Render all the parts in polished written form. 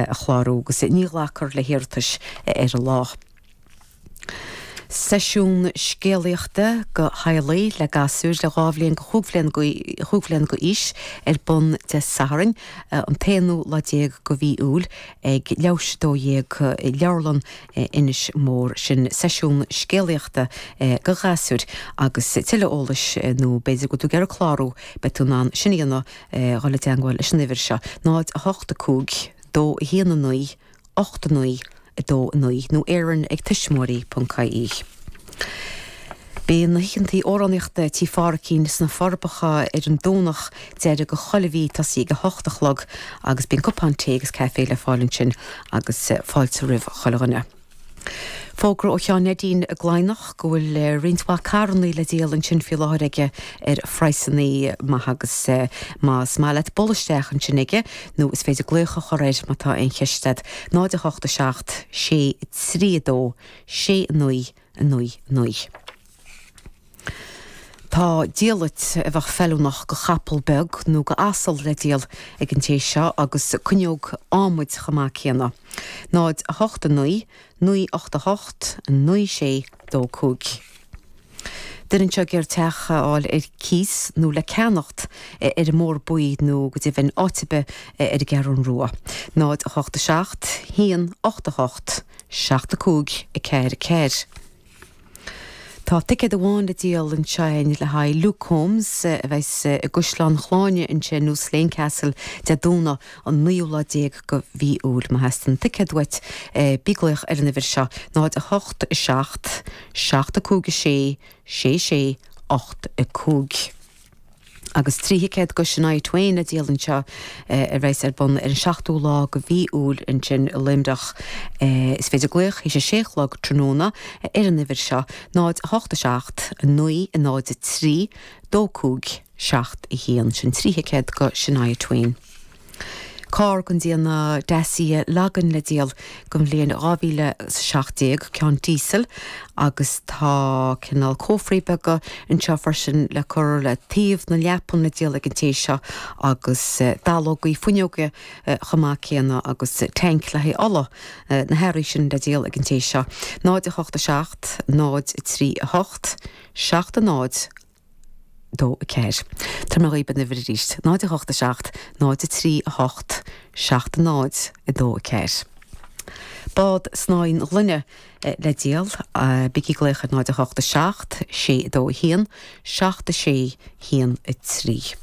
a chlárú agus ní ghlacfar le hiarratais ar an lá. Seisiún scéalaíochta do theaghlaigh le gasúir le 2 bhliain go chúig bhliana go aois ar bun Dé Sathairn an t-aonú lá déag go mhí Iúil ag leathuair tar éis 12 i Leabharlann Inis Mór. Sin seisiún scéalaíochta go ghasúir agus tuilleadh eolais nó b'fhéidir go bhfuil tú ag iarraidh clárú beidh tú in ann sin a dhéanamh dhul i dteangmháil leis an uimhir seo 0 8 5 2 1 9 8 9 2 9 nó Éireann ag tuismitheoirí.ie. Beidh na hoícheantaí amhránaíochta Tí Phádhraicín sna Forbacha ar an Domhnach deiridh go chuile mhí tosaí ag 8 a chlog agus bíonn cupán tae agus caife le fáil ansin agus fáilte roimh chuile dhuine. Fógra ó Sheán Neidín i gCladhnach go bhfuil roinnt mhaith carrannaí le díol ansin faoi láthair aige ar phraghsannaí maithe agus más maith leat bualadh isteach ansin aige nó is féidir glaoch a chur air má tá aon cheist agat, 0 8 7 6 3 2 6 9 9 9. Tá diallait a bheadh feiliúnach go chapall beag nó go asal le díol ag an té seo agus cuinneog adhmaid chomh maith céanna. 0 8 9 9 8 8 9 6 2 5. Duine anseo ag iarraidh teach a fháil ar cíos nó le ceannacht ar an mBóthar Buí nó go deimhin áit ar bith ar an gCeathrún Rua. 0 8 7 1 8 8 7 5 4 4. Tá ticéad amháin le díol ansin le haghaidh Luke Combs a bheas i gCaisleán Shláine ansin nó Slane Castle Dé Domhnaigh an naoú lá déag go mhí Iúil. Má theastaíonn ticéad uait bí ag glaoch ar an uimhir seo, 0 8 7 7 5 6 6 6 8 5. Agus 3 thicéad go Shania Twain le díol anseo a bheas ar bun ar an seachtú lá go mhí Iúil ansin i Luimneach. Is féidir glaoch théis a sé a chlog tráthnóna ar an uimhir seo, 0 8 7 9 0 3 2 5 7 1. Sin 3 thicéad go Shania Twain. Carr den déanamh Dacia Logan le díol den bhliain 2017, ceann díosail, agus tá cineál cófraí beaga anseo freisin le cur le taobh na leapan le díol ag an té seo agus dallógaí fuinneoige chomh maith céanna agus tanc le haghaidh ola, na hearraí sin le díol ag an té seo. 0 8 7 0 3 8 7 0 2 4. Tabharfaidh mé dhaoib an uimhir arís, 0 8 7 0 3 8 7 0 2 4. Bád snáithín gloine le díol, bígí ag glaoch ar 0 8 7 6 2 1 7 6 1 3.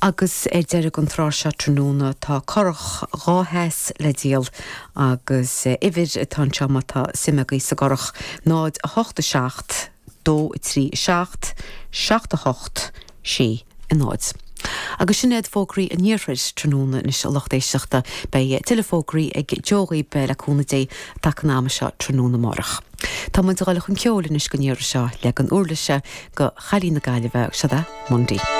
Agus ar deireadh an tráth seo tráthnóna tá curach 2 sheas le díol agus uimhir atá anseo má tá suim agaibh sa gcurach, 0 8 7 2 3 7 7 8 6 0. Agus sin iad fógraí an iarthair tráthnóna anois a lucht éisteachta. Beidh tuilleadh fógraí ag Joe dhaoib le cúnamh Dé i dtaca an ama seo tráthnóna amárach. Tá muid ag dul chun ceoil anois don iarraidh seo le an uirlise go chailín na Gaillimhe, seod é Mundy.